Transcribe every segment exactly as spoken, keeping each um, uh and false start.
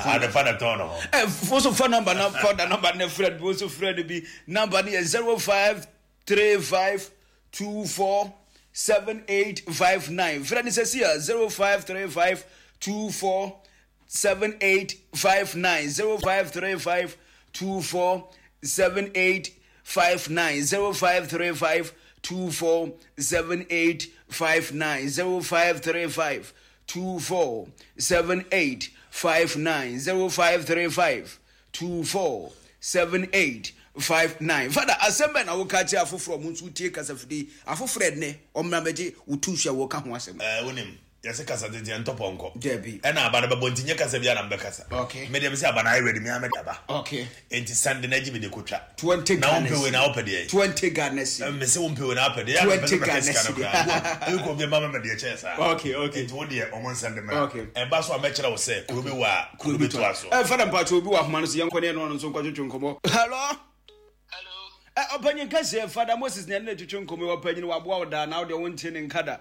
Ade fa na tɔn no ho. Ɛ fo so fa number na fa da number na frɛ bi, so frɛ no bi. Number no yɛ zero five three five two four seven eight five nine. Frɛ no sɛsi a zero five three five two four seven eight five nine zero five three five two four seven eight five nine zero five three five two four seven eight five nine zero five three five two four seven eight five nine zero five three five two four seven eight five nine. Fada, asɛm bɛn na woka kyerɛ afoforɔ ɔmo nso tie kasafidie afoforɔ ɛnɛ ɔmmra bɛgye wo tu hyɛ wɔka ho asɛm? Ɛɛ, wonim, yɛsɛ kasa tete ɛntɔ pɔnkɔ. Dabi. Ɛna aba no bɛbɔ nti nyɛ kasa bi a na mbɛkasa. Okay. Me deɛ mesɛ aba no ayɛ ready, me a mede aba. Okay. Enti sande na agye me de kotwa. Twenty Na Ghana wompɛ wei cedi. na wopɛ deɛ? Twenty Ghana cedi. Mese wompɛ wei na wopɛ deɛ? Twenty Yɛ a mepɛ sɛ Ghana mɛka sika no cedi. koraa. Ebi kɔ obi ma me deɛ kyɛn saa. Okay, okay. Enti wo deɛ ɔmo nsɛnde mmra. Okay. Ɛba so a mɛkyerɛ wo sɛ kuro bi wɔ a kuro bi toa so. Ɛ, fada, mpakyɛ, obi wɔ ahoma no so, yɛnkɔ ne ɛno ɔno nso nkɔtwetwe nkɔmmɔ. Hello. Hello. Ɛ, ɔpanyin kɛseɛ, Fada Moses ne ɛne ne twetwe nkɔmmɔ yi. Ɔpanyin, waboa wo daa na wo deɛ wonte ne nka da.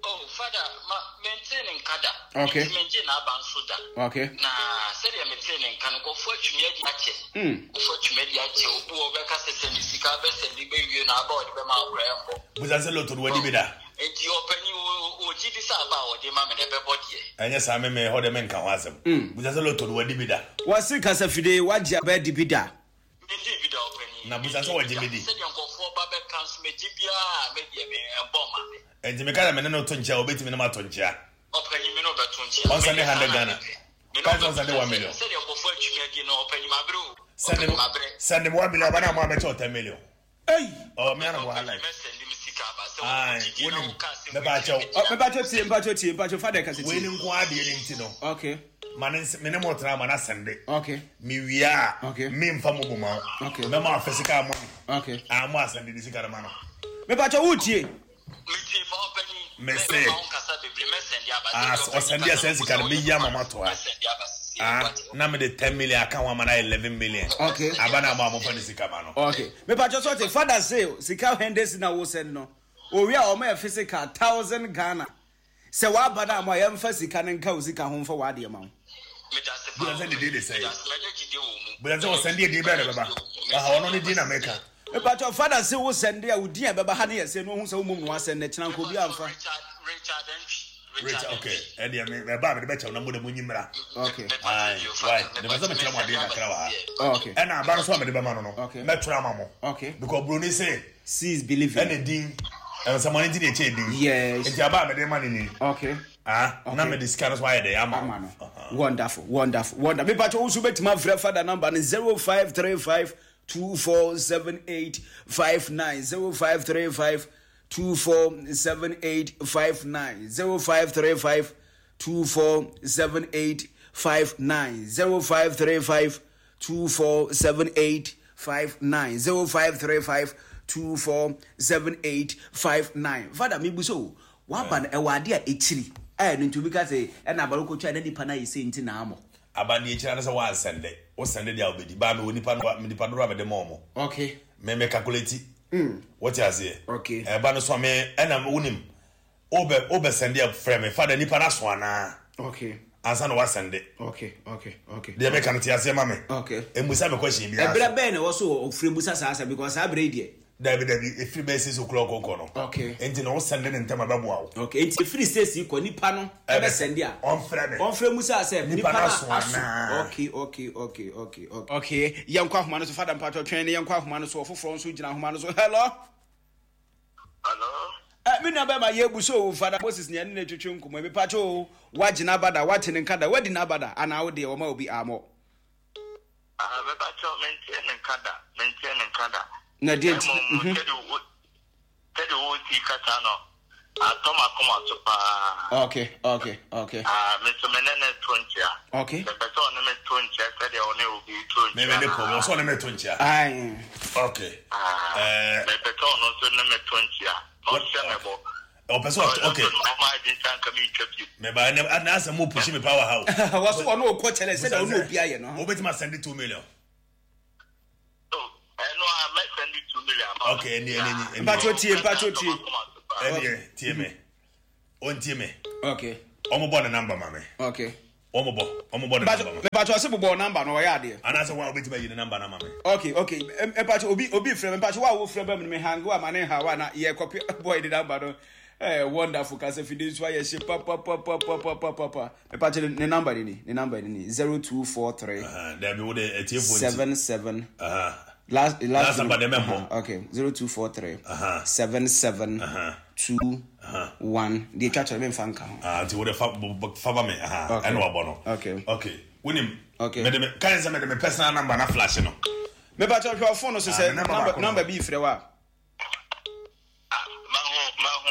Oh, Father, ma mente ne nka da. Okay. Nti mengye n'aba nso da. Okay. Na sɛdeɛ metee ne nka no, nkurɔfoɔ atwumi adi akyɛ. Mm. Nkurɔfoɔ atwumi adi akyɛ. Obi wɔ bɛka sɛ sɛ ne sika bɛsɛ de bɛwie no, aba a ɔde bɛma akora ɛmbɔ. Busa sɛ lotto no wadi bi da. Nti ɔpanyin, ɔgye di sɛ aba a ɔde ma me no ɛbɛbɔ deɛ? Ɛnyɛ saa, me me hɔ deɛ menka ho asɛm. Busa sɛ lotto no wadi bi da. Wɔse kasafidie wagye aba adi bi da? Mengye bi da, ɔpanyin. Na busa sɛ wɔgye me di. Sɛdeɛ nkurɔfoɔ ba bɛka nso, megye biara, me deɛ me ɛmbɔ ma me. Enti meka sɛ me ne no to nkyia a, obetumi ne ma to nkyia? Ɔpanyin, me ne ɔbɛto nkyia. Ɔnsɛnde Me deɛ saa hundred na Ghana. mepɛ. Me ne Ka sɛ ɔbɛto ɔnsɛnde nkyia. one million. Sɛdeɛ nkurɔfoɔ atwumi adi no, ɔpanyin, mabrɛ o. Send Ɔpanyin, me mabrɛ. Send me one million aba na mo abɛkyɛ wo ten million. Ei! Ɔ me ana mo ha Ɔpanyin, life. mɛsɛnde me sika aba sɛ Aye, wɔn gyidie na wonim. woka asɛm Mɛpa wei akyɛw. kyerɛ me Ɔ, tia. mepakyɛ tie, mpakyɛ tie, mpakyɛ fada kasa Wei tie. ne nko adeɛ ne nti no. Okay. Ma ne ns- me ne mo tena ma na sɛnde. Okay. Me wie a, Okay. me nfa mo bo ma wo. Okay. Mɛma wo physical money. Okay. A mo asɛnde de sika no ma no. Mepakyɛ, wotie? Metie pa, ɔpanyin. Me Mɛ- se. Mɛma wo nkasa bebree, mɛsɛnde aba. Ah, Sɛdeɛ ɔsɛnde ɔpanyin asɛn kasa sika no, no, meyi ama mo ato ha. mɛsɛnde aba sisi Ah, wate. na me de ten million aka ho ama na eleven million. Okay. Aba na mo a mofa ne sika ma no. Okay, mepakyɛ sɛ ɔte fada se sika hundred na wo send no, owie a ɔmo yɛ physical thousand Ghana sɛ waba no a mo a yɛmfa sika no nka wo sika ho mfa w'adeɛ ma wo. Meda ase paa. Busa sɛ ne din de sɛ. Meda ase, mɛnyɛ gyidie wɔ mu. Busa sɛ ɔsɛnde edin bɛɛ na bɛba. Aha, ɔno ne din na meka. Mepakyɛ, fada se wo send a, wo din a ɛbɛba ha ne yɛ sɛ no ohu sɛ wo mom no wasend no kyena nka obi amfa. Richard Richard Antwi. Rich, okay. Ɛdeɛ me mɛba a mede bɛkyɛw na mo de mo nyi mmra. Okay. Aye, why? Ne bɛ sɛ mekyerɛ mo adeɛ kakra wɔ ha. Okay. Ɛna aba no so a mede bɛma no no, Okay. mɛtwerɛ ama mo. Okay. Because broni se See is believing. ɛna din ɛnsɛmɔne nti na ɛkyɛ din. Yes. Nti aba a mede ma no ni. Okay. Ah, na mede sika no so ayɛ dɛ ama Ama wo. no. Wonderful, wonderful, wonderful. Mepakyɛ, wo nso wobɛtumi afrɛ fada number no zero five three five two four seven eight five nine zero five three five two four seven eight five nine zero five three five two four seven eight five nine zero five three five two four seven eight five nine zero five three five two four seven eight five nine. Fada, mebu so waba no, ɛwɔ ade a ɛkyiri ɛyɛ no nti obi ka sɛ ɛna abaro kɔtwa na nipa no ayɛ sɛ nti na amɔ. Aba deɛ ekyira no sɛ wansɛnde. Wo sɛnde deɛ a wobɛdi. Baa me wɔ nipa no nipa dodoɔ a mede ma ɔmo. Okay. Me me calculate. Wote aseɛ? Okay. Ɛba no so a me ɛna wonim. Wobɛ wobɛ sɛnde a, frɛ me, "Fada, nipa no aso anaa?" Okay. Ansa na wasɛnde. Okay okay okay Deɛ meka no, te aseɛ ma me. Okay. Emusa me question biara. Ɛberɛ bɛn na ɛwɔ so ɔfiri musa saa asɛm, because saa berɛ yi deɛ? Dabi dabi, efiri bɛyɛ six o'clock kɔ no. Okay. Nti na wosɛnde ne ntɛm a, ɛbɛboa wo. Okay, nti efiri six kɔ, nipa no ɛbɛsɛnde a, ɔmfrɛ me. Ɔmfrɛ musa sɛ Nipa nipa no no aso aso anaa? okay okay okay okay okay okay yɛnkɔ ahoma no so. Fada, mpatɔ twɛn ne yɛnkɔ ahoma no so. Ɔfoforɔ nso gyina ahoma no so. Hello. Hello. Ɛ, me nua bɛma, yɛbu so o. Fada Moses ne ɛne ne twetwe nkɔmmɔ. Mepatɔ o, woagye n'aba da? Woate ne nka da? Woadi n'aba da anaa wo deɛ wɔma obi amɔ? Ah, mepakyɛw, mentie ne nka da. Mentie ne nka da. Na deɛ nti? Mmom, Mhm. sɛdeɛ wo sɛdeɛ wosi kasa no, atɔ m'akoma so paa. okay okay okay Ah, me nso me ne ne to nkyia. Okay. Mepɛ sɛ ɔne me to nkyia sɛdeɛ ɔne obi to nkyia. Me me ne problem ɔsɛ ɔne me to nkyia. Aye. Okay. Ah, Ɛɛ mepɛ sɛ ɔno nso ne me to nkyia. Ɔnhyɛ me bɔ. Ɔpɛ sɛ ɔt okay. Ɔma adi nsa nka mentwa bio. Meba ɛnɛ ɛnɛ asɛm mo push me power ha o. Wɔso ɔne ɔkɔ kyɛlɛ sɛdeɛ ɔne obi ayɛ no. Wobɛtumi asɛnde two million? Oh, ɛno a mɛsɛnde two million ama. Okay, ɛni ɛni ɛni. Mpatwɔ tie, mpatwɔ tie. Ɛni tie me. Ɔntie me. Okay. Ɔmo bɔ ne number ma me. Okay. Wɔn bɔ wɔn bɔ ne number no. Mepatwa ɔsɛ bobɔ number no, ɔyɛ adeɛ. Anaasɛ wa obetumi ayi ne number no ama me. okay okay Mpatwa obi obi frɛ, mpatwa wa a wofrɛ ba mu no, me hang wa ma ne ha wa na yɛ kɔpi boy de number no. ɛɛ wonderful kasa fide nso ayɛ hye papapapapapapa. Mepatwa ne number ni ne number ni zero two four three. Dabi, wo de etiefo nti. Seven seven. Last last, last number de mɛmbɔ. Okay, zero two four three seven seven two one deɛ etwa kyerɛ mi nfa nka ho. Ah, nti wo de fa fa ba mi ɛna wabɔ no. Okay. Okay, wunim. Okay. Mɛde mi kan sɛ mɛde mi personal number na flash no. Mepatwa hwɛ ɔfon no so sɛ number number bi frɛ wa.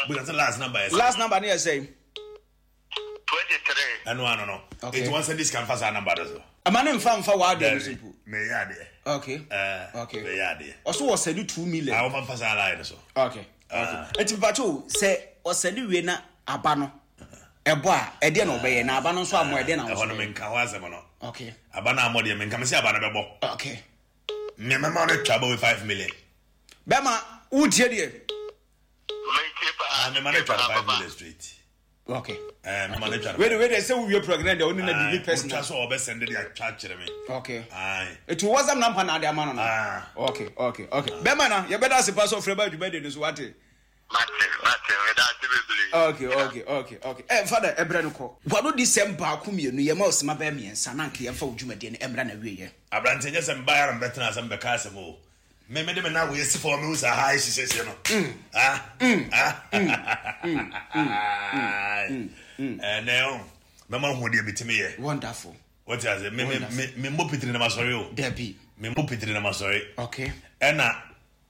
Because last number yɛ. Last number ne yɛ sɛ. Twenty three. Ɛnu ano no. Okay. Eti wɔn sɛ this kan fa saa number do so. Ama ne nfa nfa wa adeɛ no so po. Mɛ yɛ adeɛ. Okay. Ɛɛ okay. Mɛ yɛ adeɛ. Ɔso wɔ sɛde two million. A wɔn fa saa line no so. okay okay eti mpatwa o sɛ ɔsɛde wie na aba no ɛbɔ a, ɛdeɛ na ɔbɛyɛ na aba no nso amɔ, ɛdeɛ na ɛhɔ no ɔso. Menka hɔ asɛm no. Okay. Aba no amɔ deɛ, menka me sɛ aba no bɛbɔ. Okay. Mmɛmɛma no twa bɔ five million. Bɛma wotie deɛ. Metie paa. Mema no twa no five million straight. Okay. Ɛɛ, mema no twa no. Wei de wei de sɛ wowie program deɛ, wone na bibi wotwa personal. So ɔbɛ send de atwa kyerɛ me. Okay. Aye. Eti WhatsApp number na ade ama no no. Ah. okay okay okay bɛma na yɛbɛda ase pa so ɔfrɛ ba adwuma de no so, wate. Mate, mate, meda ase bebree. okay okay okay okay ɛ fada, ɛbrɛ no kɔ wano di sɛm baako mmienu, yɛma ɔsima bɛyɛ mmiɛnsa na nka yɛmfa wo dwumadie no ɛmmra na wieɛ. Aberante, nyɛ sɛ mbaeɛ na mbɛtena asɛm bɛka asɛm o. Me mede me na woyɛ si fam, mehu sɛ ha ɛhyehyɛhyɛ no. Ah, ah, ɛnɛ o, mɛma hu deɛ metumi yɛ. Wonderful. Wɔte ase, me me me me mmɔ pitiri na masɔre o. Dabi. Me mmɔ pitiri na masɔre. Okay. Ɛna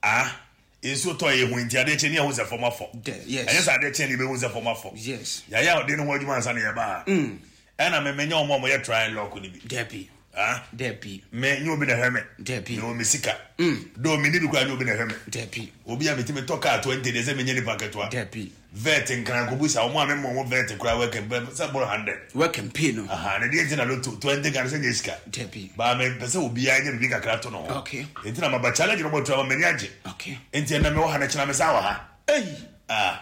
ah, nsuo tɔ yɛ hu nti adeɛ kyɛ ni ɛho sɛ fam afɔ. De- yes. Ɛnyɛ sɛ adeɛ kyɛ ni ebehu sɛ fam afɔ. Yes. Yɛayɛ a ɔde ne ho adwuma ansa na yɛba ha. Ɛna me menyɛ wɔn a wɔyɛ try and lock ni bi. Dabi. Ah. Dabi. Me nye obi na hwɛ me. Dabi. Me wɔ me sika do, me ni bi kura, nye obi na hwɛ me. Dabi. Obi a metumi tɔ kaa twenty de sɛ menyɛ nipa ketewa. Dabi. Vet nkrankobu sa wɔn a me mɔ wɔn vet kura wɛkɛ bɛ sɛ bɔrɔ hundred. Wɔ campaign no. Aha, ne deɛ nti na lotto twenty kan sɛ nye sika. Dabi. Baa me pɛ sɛ obiara nye bibi kakra to no ho. Okay. Nti na maba challenge no bɔ tura ma m'ani agye. Okay. Nti ɛnna me wɔ ha na kyerɛ me sa wɔ ha. Ei. Ah,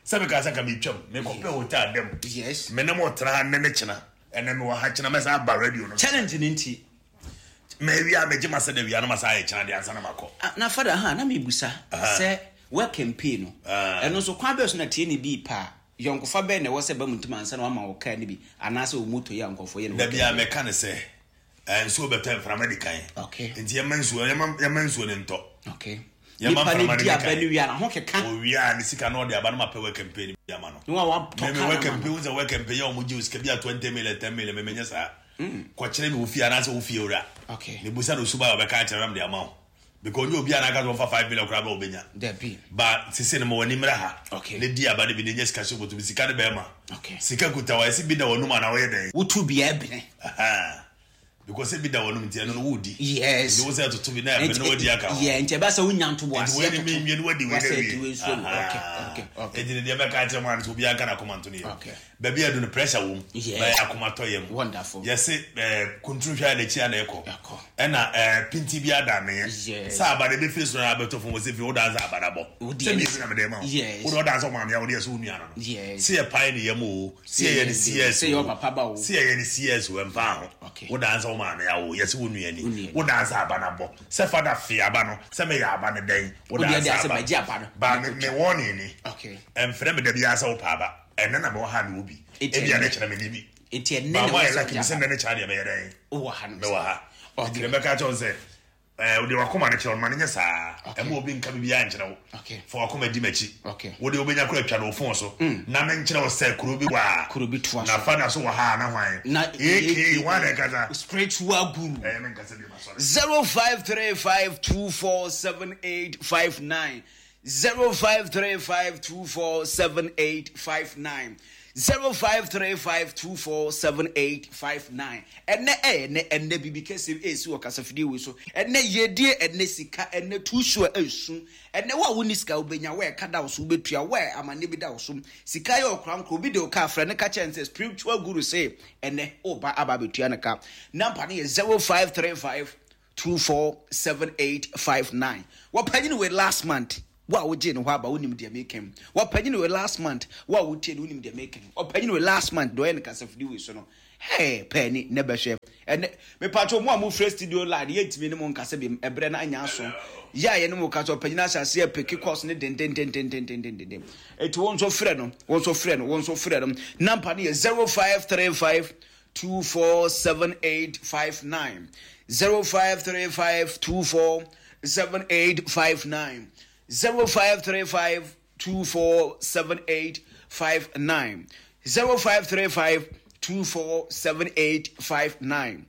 sɛ meka sɛ ka metwam mekɔpɛ hotel dɛm. Yes. Me ne mo tena ha nnɛ ne kyena, ɛnɛ mewɔ ha, kyena mɛsa aba radio no. Challenge ne nti. Mawia megye ma sɛ da wia no masa ayɛ kyena deɛ ansa na makɔ. Ah, na fada ha na mebusa sɛ wɔ campaign no, Ah. ɛno nso kwan bɛɛ so na tie ne bi pa yɔnkofa bɛɛ na ɛwɔ sɛ ba mu ntoma ansa na wama wo kaa no bi anaasɛ wo moto yi a nkɔfoɔ yɛ no? Da bia mɛka ne sɛ eh, nsuo bɛtɔ, mframa di kan. Okay. Nti yɛma nsuo yɛma yɛma nsuo ne ntɔ. Okay. Yɛma nipa mframa ne no di di aba kan. no wie a na ho keka. Owia ne sika na ɔde aba no ma pɛ wɔ campaign bi ama no. Ne wa watɔ mɛmɛ kaa wɔ no ama campaign no. wo sɛ wɔ campaign yɛ ɔmo gye wo sika bi a twenty million, ten million, mɛmɛ nyɛ saa. Kɔkyerɛ mi wo fie anaasɛ wo fie wura. Okay. Ne busa na osuba a ɔbɛka akyerɛ nam de ama wo because onye obi a n'aka sɛ ɔfa five million koraa bɛ ɔbɛnya. Dabi. Ba sese no ma w'ani mmra ha. Okay. Ne di aba de bi ne nye sika hyɛ bɔtɔ sika ne bɛrima. Okay. Sika kuta wa esi bi da wɔnum ana wɔyɛ dɛn? Wotu bia ebene. Aha. Because ebi da wɔnum nti ɛno no wodi. Yes. Nti wo sɛ ɛtoto bi na ɛbɛ na wadi aka ho. Yeah, nti ɛbɛ sɛ wonya ntobo Nti aseɛ. wei ni mi nwie ni wadi wei Wasɛ na di wei wie. nsuo mu. Okay okay okay Eti ne deɛ mɛka akyerɛ mu ano sɛ obiara nka n'akoma nto ne yam. Okay. Baabi a ɛdu no, pressure wɔ mu. Yes. Bɛyɛ akoma tɔ yam. Wonderful. Yɛse ɛɛ kunturu hwɛ a n'akyi a na ɛkɔ. Ɛkɔ. Ɛna ɛɛ pinti bi ada ne Yes. yɛ. Sɛ aba de ebi firi soro na abɛtɔ fam wɔ sɛ fi o dan sɛ aba na bɔ. Wo deɛ Sɛ ne- mi na mede ma wo. Yes. Wo de ɔdan sɛ ɔmaame a wo de yɛ sɛ wo nua no no. Yes. Sɛ yɛ pae ne yam o. Sɛ yɛ ne C S Sɛ yɛ o. ɔpapa ba o. Sɛ yɛ ne C S o, ɛmfa ho. Okay. Wo dan sɛ wo maame awo yɛsɛ wo nua Wo ni. nua ni. Wo dan sɛ aba na bɔ. Sɛ fada fe aba no, sɛ meyɛ aba no dɛn. Wo Wo dan deɛ de sɛ asɛ aba. bɛgye aba no. Ba me me wɔne ni. Okay. Ɛmfrɛ me da biara sɛ wopɛ aba. Ɛnɛ na mewɔ ha mewɔ bi. Enti Ebia ɛnnɛ- ne kyerɛ me ni bi. Nti ɛnɛ Ba na mo ayɛ wɔsɛ lucky wogye sɛ aba. nnɛ ne kyerɛ deɛ mɛyɛ dɛn. Wowɔ ha no. Mewɔ ha. Okay. Nti deɛ mɛka kyerɛ wo sɛ ɛɛ wode wakoma no kyerɛ wo no ma no nyɛ saa. Okay. Ɛma obi nka biribiara nkyerɛ wo. Okay. Fa wakoma di m'akyi. Okay. Wode wobɛnya kora atwa no wo phone so. Na menkyerɛ wo sɛ kuro bi wɔ a. Kuro bi toa Na so. fa na so wɔ ha a na hwan. Na A K hwan na ɛkasa. Spiritual guru. Ɛyɛ menkasa bi ma sɔre. Zero five three five two four seven eight five nine zero five three five two four seven eight five nine zero five three five two four seven eight five nine. Ɛnɛ ɛyɛ ɛnɛ ɛnɛ bibi kɛse esi wɔ kasafidie wei so. Ɛnɛ yɛdie, ɛnɛ sika, ɛnɛ tuusu a ɛsu. Ɛnɛ wo a woni sika wobɛnya, wo a ɛka da wo so wobɛtua, wo a amanneɛ bi da wo so, sika yɛ ɔkora nkora obi de wo ka frɛ ne ka kyɛn sɛ spiritual guru sɛ ɛnɛ woba aba abɛtua ne ka. Number no yɛ zero five three five two four seven eight five nine. Wɔpanyini wei last month, wo a wogye ne hɔ aba, wonim deɛ meka. Wɔpanyini wei last month, wo a wotie no, wonim deɛ meka. Ɔpanyini wei last month deɛ ɔyɛ ne kasafidi wei so no. Hey, penny ne bɛhwɛ ɛnɛ mepatwo mo a mofrɛ studio line yɛntumi ne mo nkasa bi ɛberɛ no anya aso yɛ a yɛne mo ka sɛ ɔpanyin ahyɛ aseɛ pick calls ne dendendendendendenden. Ɛti wo nso frɛ no, wo nso frɛ no, wo nso frɛ no. Number no yɛ zero five three five two four seven eight five nine, zero five three five two four seven eight five nine, zero five three five two four seven eight five nine, zero five three five two four seven eight five nine,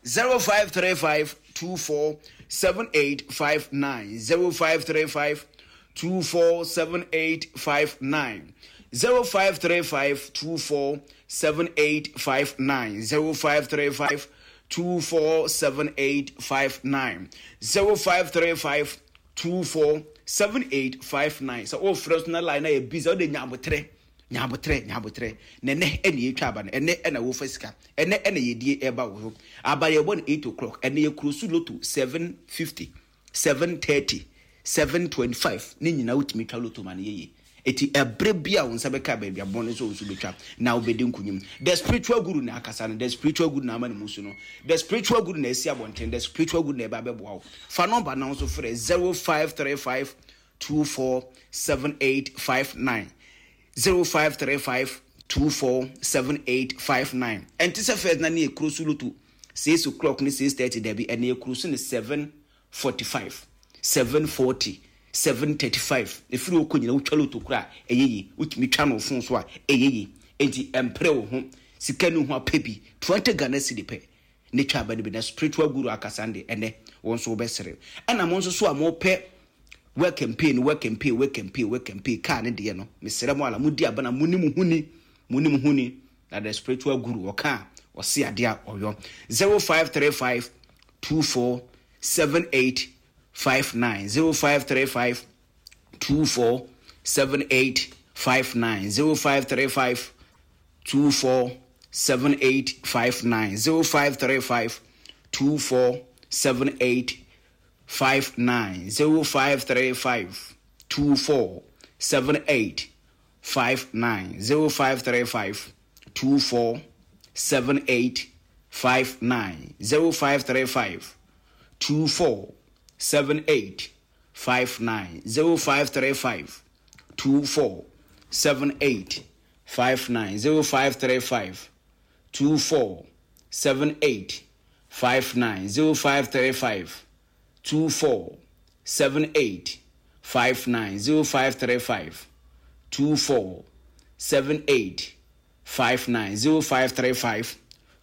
zero five three five two four seven eight five nine, zero five three five two four seven eight five nine, zero five three five two four seven eight five nine, zero five three five two four seven eight five nine, zero five three five two four seven eight five nine. Sɛ wofrɛ so na line na yɛ busy, wode nyabotrɛ, nyabotrɛ, nyabotrɛ. Na ɛnɛ ɛna yɛtwa aba no, ɛnɛ ɛna wofa sika, ɛnɛ ɛna yɛdie ɛba wo so. Aba yɛbɔ no eight o'clock. Ɛnɛ yɛ close lotto seven fifty, seven thirty, seven twenty-five ne nyinaa. Wotumi twa lotto ma no yɛyie. Eti ɛbrɛ bi a wo nsa bɛka baabi abɔn no so, wo nso bɛtwa na wobɛdi nkunyim. The spiritual guru na akasa no, the spiritual guru na ama ne mu so no, the spiritual guru na asi abɔnten, the spiritual guru na ɛba bɛboa wo. Fa number na wo nso frɛ zero five three five two four seven eight five nine, zero five three five two four seven eight five nine. Ɛnte sɛ first na ne yɛ close lotto six o'clock ne six thirty. Dabi, ɛne yɛ close ne seven forty-five, seven forty, seven thirty-five. Ɛfiri wokɔ nyina wotwa lotto kora a ɛyɛ yi, wotumi twa no phone so a ɛyɛ yi. Enti ɛmprɛ wo ho, sika no ho apɛ bi, twenty Ghana cedi pɛ ne twa aba no bi. Na spiritual guru akasa de ɛnɛ wɔn nso wobɛsere. Ɛna mo nso so a mopɛ work and pay no, work and pay, work and pay, work and pay kaa ne deɛ no, mesrɛ mo ala modi aba na mo ne mo ho ni, mo ne mo ho ni. Na the spiritual guru ɔka a ɔse adeɛ a ɔyɔ. zero five three five two four seven eight five nine, zero five three five two four seven eight five nine, zero five three five two four seven eight five nine, zero five three five two four seven eight five nine, zero five three five two four seven eight five nine, zero five three five two four seven eight five nine, zero five three five two four seven eight five nine, zero five three five two four seven eight five nine, zero five three five two four seven eight five nine, zero five three five two four seven eight five nine, zero five three five two four seven eight five nine, zero five three five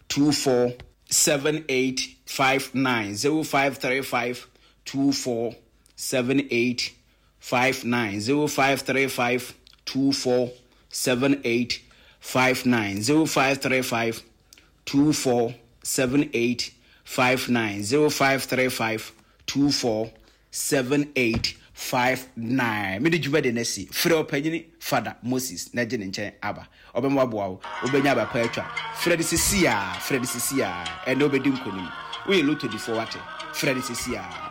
two four seven eight five nine, zero five three five two four seven eight five nine, zero five three five two four seven eight five nine, zero five three five two four seven eight five nine, zero five three five two four seven eight five nine. Mede dwuma de no asi. Frɛ ɔpanyini Fada Moses na gye ne nkyɛn aba. Ɔbɛma waboa wo, wobɛnya aba pa atwa. Frɛ no sesi a, frɛ no sesi a. Ɛnɛ wobɛdi nkonim. Woyɛ lotto difoɔ, wate? Frɛ no sesi a.